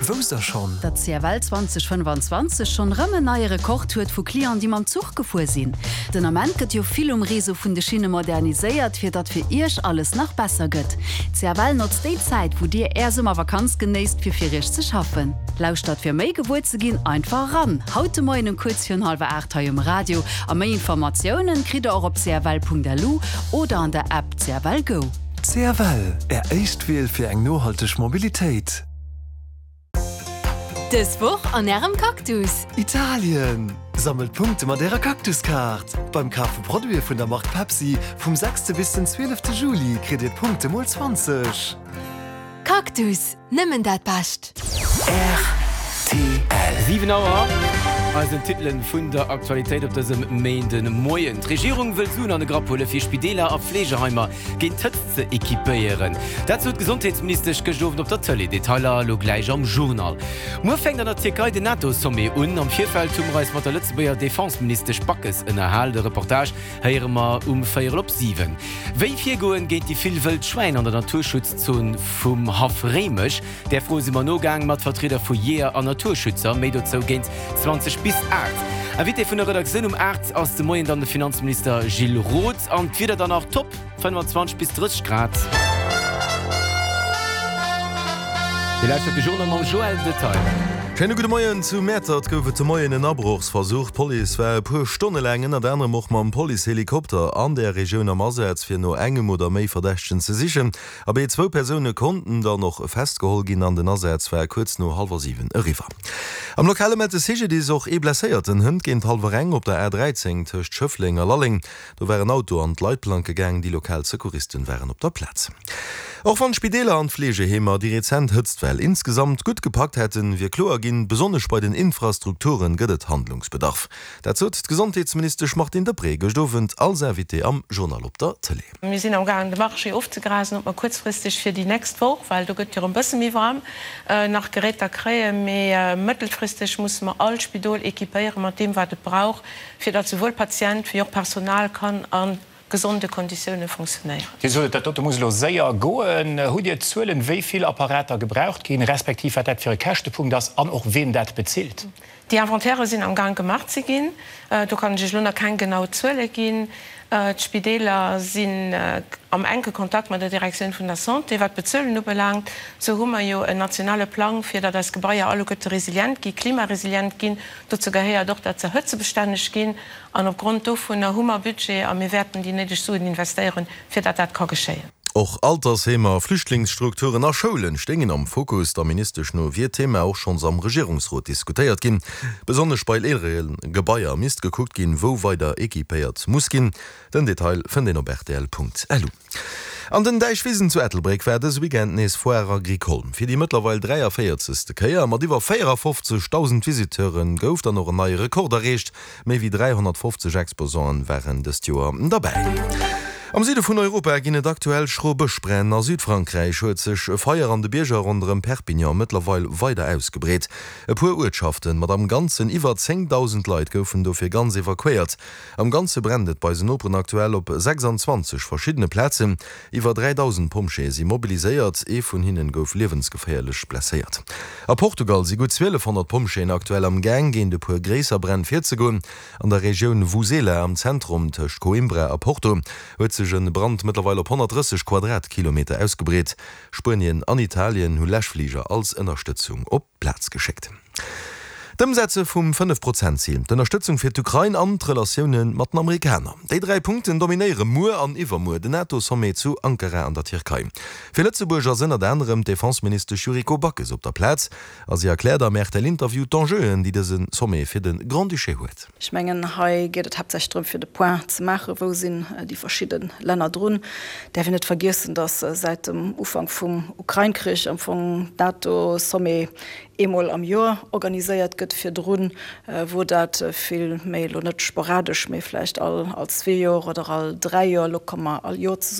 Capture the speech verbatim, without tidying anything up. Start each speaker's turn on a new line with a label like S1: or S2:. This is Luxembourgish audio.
S1: Wousst der schonn?
S2: Datt C F L zweedausendfënnefanzwanzeg schonn rëm en neie Rekord huet vu Clienten, déi mam Zuch gefuer sinn. Den Ament gëtt jo vill um Réseau vun de Schinne moderniséiert, fir datt fir iech alles nach besser gëtt. C F L notzt déi Zäit, wou dir är Summervakanz genéisst, fir fir iech ze schaffen. Lauschtert fir méi gewuer ze ginn einfach ran. Haut de Moien um kuerz virun hallwer aacht hei um Radio a méi Informatiounen kritt der och op C F L Punkt L U oder an der App C F L Go.
S1: C F L, Är éischt Wiel fir eng nohalteg Mobilitéit.
S3: Dës Woch an ärem Cactus.
S1: Italien! Sammelt Punkte mat ärer Cactuskaart. Beim Kaf vu Produite vun der Mark Pepsi vum sechste bis den zwielefte Juli kritt dir Punkte mol zwanzeg.
S3: Cactus, nëmmen dat Bescht.
S1: R T L.
S4: Siwen Auer, eisen Titelen vun der Aktualitéit op dësem Méindemoien. D'Regierung wëll Suen an de Grapp huele fir Spideeler a Fleegeheimer géint d'Hëtzt ze equipéieren. Dat sot d'Gesondheetsministesch gëschter Owend op der Tëlee. Detailer elo gläich am Journal. Muer fänkt an der Tierkei den NATO-Sommet un. Am Virfeld hu mer eis mat der Lëtzebuerger Defenseministesch Backes ënnerhalen. De Reportage héiere mer um véierel op siwen. Wéi virgoen géint déi vill wëll Schwäin an der Naturschutzzon vum Haff Réimech? Där Fro si mer nogaang mat Vertrieder vu Jeeër an Naturschützer. Méi dozou géint zwanzeg bis aacht. Invité vun der Redaktioun um aacht ass de Moien dann de Finanzminister Gilles Roth. An d'Wieder dann nach top, fënnfanzwanzeg bis drësseg Grad. Dir lauschtert de Journal mam Joël Detail.
S5: Schéine gudde Moien. Zu Mäertert gouf et de Moien en Abrochsversuch. D'Police war e puer Stonne laang ënnert anerem och mam Policehelikopter an der Regioun am Asaz, fir no engem oder méi Verdächtegen ze sichen. Abee, zwou Persoune konnten dann och festgeholl ginn an den Asaz war kuerz no hallwer siwen eriwwer. Am Lokale mellt de C G D I S och ee Blesséierten hënt géint hallwer eng op der A dräizéng tëscht Schëffleng a Lalleng. Do war en Auto an d'Leitplanke gaang, déi lokal Secouristen waren op der Plaz. Och wann d'Spideeler an d'Fleegeheemer déi rezent Hëtztwell insgesamt gutt gepackt hätten, wier kloer ginn, besonnesch bei den Infrastrukture gëtt et Handlungsbedarf. Dat sot d'Gesondheetsministesch Martine Deprez gëscht Owend als Invitée am Journal op der Tëlee.
S6: Mir sinn am gaangen de Marché ofzegrasen, ob mer kuerzfristeg fir déi nächst Woch, well do gëtt jo e bësse méi waarm, nach Geräter kréien, mee mëttelfristeg musse mer all Spidol equipéiere mat deem wat et brauch, fir datt souwuel Patient wéi och Personal kann a gesonde Konditioune funktionéieren.
S7: Dir sot, dat dote muss elo séier goen. Hutt Dir Zuelen, wéi vill Apparater gebraucht ginn, respektiv wat dat fir e Käschtepunkt ass an och wien dat bezilt?
S6: Déi Inventairë sinn am Gaang gemaach ze ginn. Do kann ech Iech elo nach keng genau Zuele ginn. D'Spideeler sinn am enke Kontakt mat der Direktioun vun der Santé. Wat d'Bezuelen ubelaangt, sou hu mer jo en nationale Plang, fir datt eis Gebaier alleguerte resilient ginn, klimaresilient ginn. Dozou gehéiert och, datt se hëtzebestänneg ginn. An opgrond dovunner hu mer Budget a mir wäerten déi néideg Suen investéieren, fir datt dat ka geschéien.
S5: Och Altersheemer, Flüchtlingsstrukturen a Schoulen stéingen am Fokus. Der Ministesch no wier d'Thema och schonns am Regierungsrot diskutéiert ginn. Besonnesch bei eelere Gebaier misst gekuckt ginn, wou weider equipéiert muss ginn. Den Detail fënnt een op R T L Punkt L U. An den Däichwisen zu Ettelbréck war dëse Weekend nees Foire Agricole. Fir déi mëttlerweil dräiavéierzegste Kéier mat iwwer véierafofzegdausend Visiteure gouf dann och en neie Rekord erreecht. Méi wéi dräihonnertfofzeg Exposanten waren dëst Joer derbäi. Am Süde vun Europa ginn et aktuell schro Bëschbränn. A Südfrankräich huet sech e Feier an de Bierger ronderëm Perpignan mëttlerweil weider ausgebreet. E puer Uertschaften mat am Ganzen iwwer zéngdausend Leit goufen dofir ganz evakuéiert. Am Ganze brennt et bei eisen Noperen aktuell op sechsanzwanzeg verschiddene Plazen. Iwwer dräidausend Pompjeeë si mobiliséiert, ee vun hinnen gouf liewensgeféierlech blesséiert. A Portugal si gutt zwielefhonnert Pompjeeën aktuell am Gaang, géint e puer gréisser Bränn virzegoen. An der Regioun Vouzela am Zentrum tëscht Coimbra a Porto huet sech e Brand mëttlerweil op honnertdrësseg Quadratkilometer ausgebreet. Spuenien an Italien hu Läschfliger als Ënnerstëtzung op d'Plaz geschéckt. D'Ëmsetze vum Fënnef-Prozent-Zil, d'Ënnerstëtzung fir d'Ukrain an d'Relatioune mat den Amerikaner, déi dräi Punkten dominéiere muer an iwwermuer den NATO-Sommet zu Ankara an der Tierkei. Fir Lëtzebuerg ass ënnert anerem d'Defenseministesch Yuriko Backes op der Plaz a si erkläert am R T L-Interview d'Enjeuen, déi dëse Sommet fir de Grand-Duché huet.
S8: Ech mengen, hei geet et haaptsächlech drëm, fir de Point ze maachen, wou sinn déi verschidde Länner drun. Däerf een net vergiessen, datt säit dem Ufank vum Ukrain-Krich am Fong d'NATO-Sommet eemol am Joer organiséiert gëtt. Virdrun wor dat vill méi, elo net sporadesch, mee vläicht all all zwee Joer oder all dräi Joer. Elo komme mer all Joer zesummen.